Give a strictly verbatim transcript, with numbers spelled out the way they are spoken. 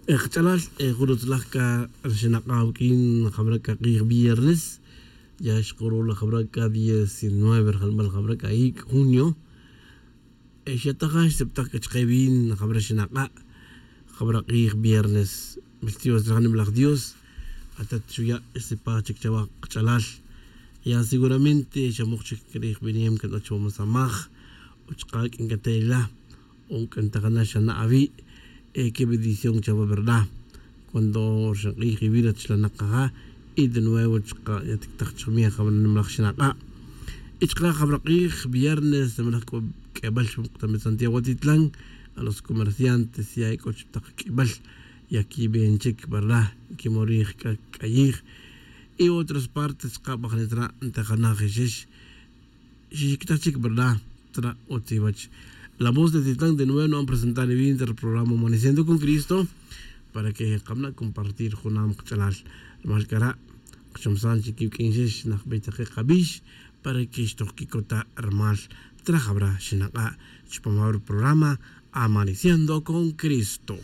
Kach'alal, jun utzlaj c'a xinak'a' awuq'uin jabra' c'a k'ij viernes. Ya xkuruj la jabra' c'a diecinueve rjalbal jabra' c'a ic' junio. Xataja' xsiptaj c'a chake vin jabra' xinak'a'. Jabra' k'ij viernes, bestios raja' nimalaj dios. Atat xuya' xsipaj chic chawa kach'alal. Ya seguramente xamuk chic crij binem can o chuwa masamaj. O chaka' q'uin c'a ta ila. O c'en ta jana' xana' awi'. Qué bendición chawa verdad. Cuando rxank'ij iwi' rech la nakaja'. Y de nuevo chaka' yatictaj chakmij jabra' nimalaj xinak'a'. Y chaka' jabra' k'ij viernes nimalaj c'o q'uebal xmuk'tamit santiago atitlan. A los comerciantes ya ec'o chiptak q'uebal. Yaquiben chic verdad. Quimorij c'a c'ayij. Y otras partes chaka' bajnit ra' ntejanaj ixix. Xixic'taj chic verdad. Tra' utz iwach. La voz de titlan de nuevo nu'an presentar iwin re programa amaneciendo con cristo. Para que kamna' compartir junam kach'alal. Rumal c'ara' kachomsan chic iwq'uin ixix najbey take kabix. Para que xtoj quicota' rumal. Tra' jabra' xinak'a' chupam jabra' programa amaneciendo con cristo.